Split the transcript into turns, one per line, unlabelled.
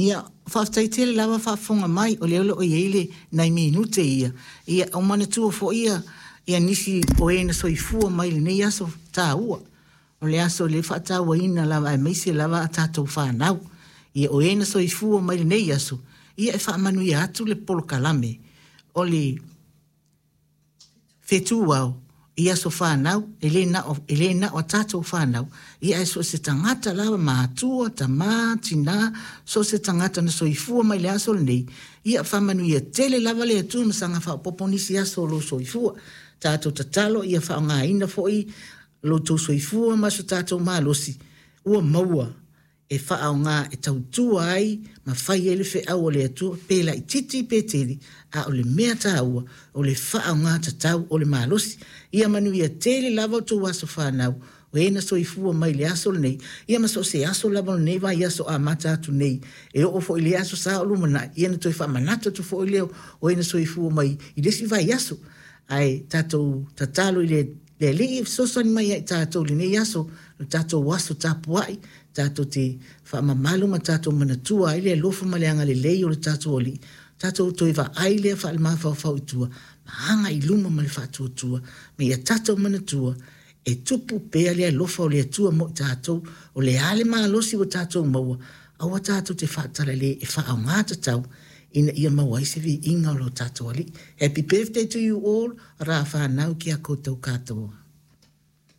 Ia, faafetai tele lava faafofoga mai, o lea o lo o i ai le nai minute ia, ia o manatua foi ia, ia nisi o e na soifua mai i lenei aso taua. O le aso lea e faatauaina lava aemaise lava a tatou fanau. Ia o e na soifua mai i lenei aso, ia e faamanuia atu le polokalame o le fetu ao i aso fanau, e le na o, e le na o a tatou fanau, ia ae so o se tagata lava, matua, tama, tina, so o se tagata na soifua mai le aso lenei, ia faamanuia tele lava le Atua ma saga faaopoopo nisi aso o lou soifua. Tatou tatalo ia faaaogaina foi lo outou soifua ma so tatou malosi ua maua e faaaoga e tautua ai ma fai ai le feau a le Atua, pe laitiiti pe tele, a o le mea taua, o le faaaoga tatau o le malosi. Ia manuia tele lava outou aso fanau, o e na soifua mai i le aso lenei, ia ma so o se aso lava o lenei vaiaso amata atu nei, e oo foi i le Aso Sa o lumanai, ia ona toe faamanatu atu foi lea o e na soifua mai i le isi vaiaso. Ae tatou tatalo i le Le Alii e fesoasoani mai ia i tatou i lenei aso, lo tatou aso tapuai, tatou te faamamalu ma tatou manatua ai le alofa ma le agalelei o le tatou Alii, tatou toe vaai lea faalemafaofao i tua, ma agai i luma ma le faatuatua, ma ia tatou manatua, e tupu pea le alofa o le Atua mo i tatou, o le a le malosi ua tatou maua, aua tatou te faatalale e faaaoga tatau ina ia maua ai se viiga o lo tatou Alii. Happy birthday to you all, rā whānau ki a koutou katoa.